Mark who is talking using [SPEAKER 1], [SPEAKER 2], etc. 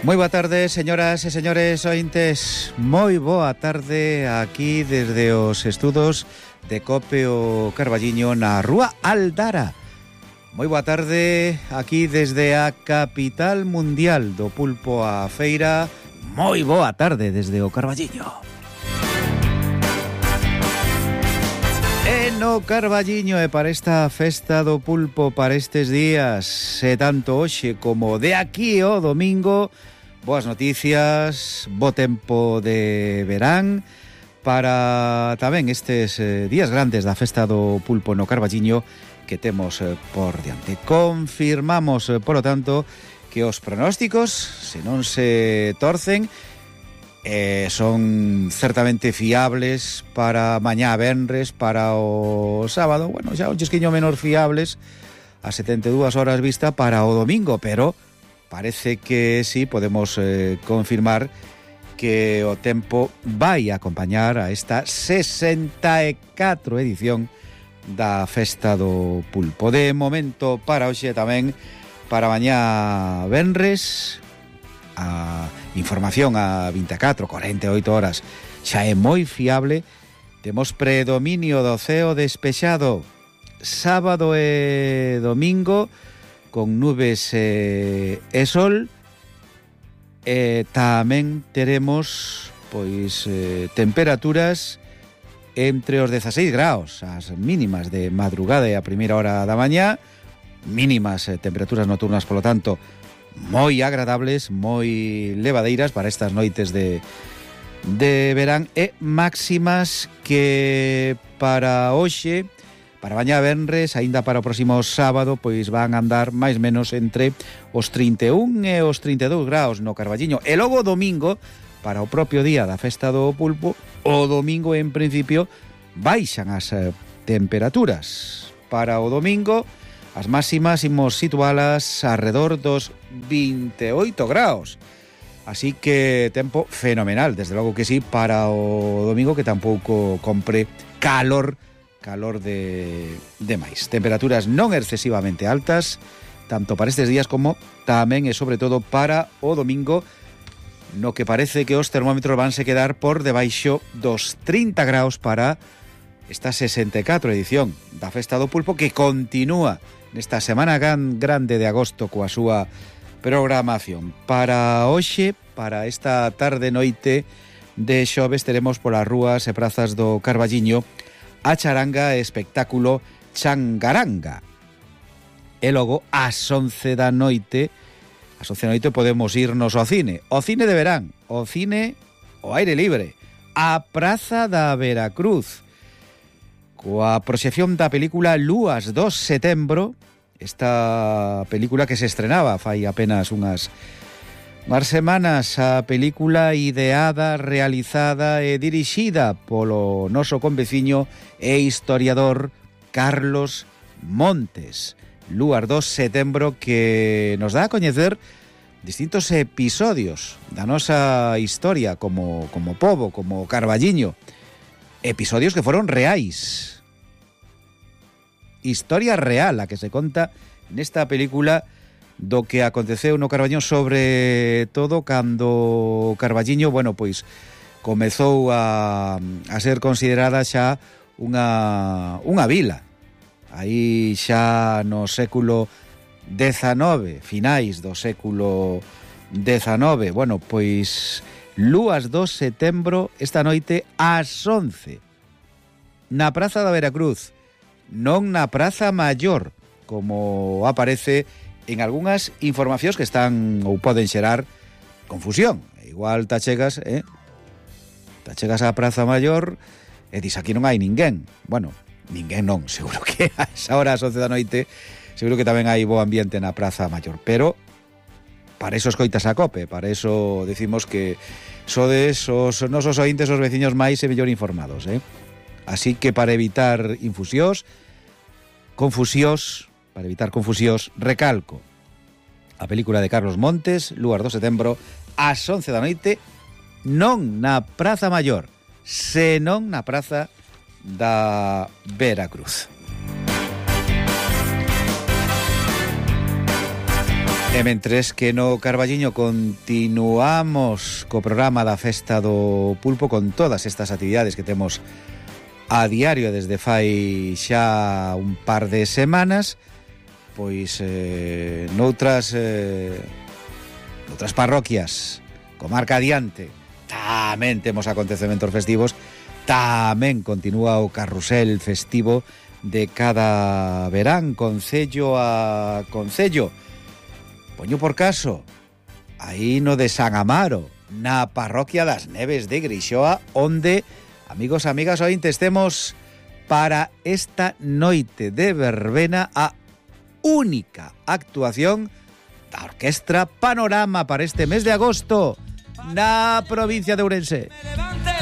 [SPEAKER 1] Moi boa tarde, señoras e señores ointes. Moi boa tarde aquí desde os estudos de COPE o Carballiño na Rúa Aldara. Moi boa tarde aquí desde a capital mundial do pulpo a feira. Moi boa tarde desde o Carballiño. E no Carballiño e para esta festa do pulpo, para estes días, e tanto hoxe como de aquí ao domingo, boas noticias, bo tempo de verán para tamén estes días grandes da festa do pulpo no Carballiño que temos por diante. Confirmamos, polo tanto, que os pronósticos, se non se torcen, son certamente fiables para mañá venres, para o sábado, bueno, xa un chisquiño menor fiables a 72 horas vista para o domingo, pero parece que sí, podemos confirmar que o tempo vai acompañar a esta 64 edición da Festa do Pulpo. De momento, para hoxe tamén, para mañá venres, a información a 24, 48 horas xa é moi fiable. Temos predominio do ceo despexado sábado e domingo con nubes e sol. Tamén teremos pois temperaturas entre os 16 graus as mínimas de madrugada e a primeira hora da mañá, mínimas temperaturas nocturnas, polo tanto moi agradables, moi levadeiras para estas noites de verán, e máximas que para hoxe, para mañá venres, aínda para o próximo sábado, pois van a andar máis menos entre os 31 e os 32 graus no Carballiño. E logo o domingo, para o propio día da Festa do Pulpo, o domingo en principio baixan as temperaturas. Para o domingo as máximas imos situalas arredor dos 28 graus. Así que tempo fenomenal, desde logo que sí, para o domingo, que tampouco compre calor de máis. Temperaturas non excesivamente altas, tanto para estes días como tamén e sobre todo para o domingo, no que parece que os termómetros vanse quedar por debaixo dos 30 graus para esta 64 edición da Festa do Pulpo, que continúa nesta semana grande de agosto coa súa programación. Para hoxe, para esta tarde noite de xoves, teremos polas rúas e prazas do Carballiño a charanga e espectáculo Changaranga. E logo, ás 11 da noite, podemos irnos ao cine de verán, o cine ao aire libre, a Praza da Veracruz, coa proxección da película Lúas do Setembro, esta película que se estrenaba fai apenas unhas semanas, a película ideada, realizada e dirixida polo noso conveciño e historiador Carlos Montes. Lúas do Setembro, que nos dá a coñecer distintos episodios da nosa historia como pobo, como Carballiño. Episodios que foron reais. Historia real a que se conta nesta película do que aconteceu no Carballiño, sobre todo cando Carballiño, bueno, pois comezou a ser considerada xa unha vila. Aí xa no século XIX, finais do século XIX, bueno, pois Lúas do Setembro esta noite ás 11 na Praza da Veracruz, non na Praza Maior, como aparece en algunhas informacións que están ou poden xerar confusión. Igual tachegas á Praza Maior e dis aquí non hai ninguén. Bueno, ninguén non, seguro que a esa hora, ás 11 da noite, seguro que tamén hai bo ambiente na Praza Maior, pero para eso escoitas a COPE, para eso decimos que sodes os nosos ointes, os veciños máis e mellor informados, Así que para evitar confusións, recalco a película de Carlos Montes, Lúas do Setembro, ás 11 da noite, non na Praza Maior, senón na Praza da Veracruz. E mentres que no Carballiño continuamos co programa da Festa do Pulpo con todas estas actividades que temos a diario desde fai xa un par de semanas, pois noutras parroquias, comarca adiante, tamén temos acontecementos festivos, tamén continúa o carrusel festivo de cada verán, concello a concello. Poño por caso, aí no de San Amaro, na parroquia das Neves de Grixoa, onde, amigos e amigas, ointes, temos para esta noite de verbena a única actuación da Orquestra Panorama para este mes de agosto na provincia de Ourense.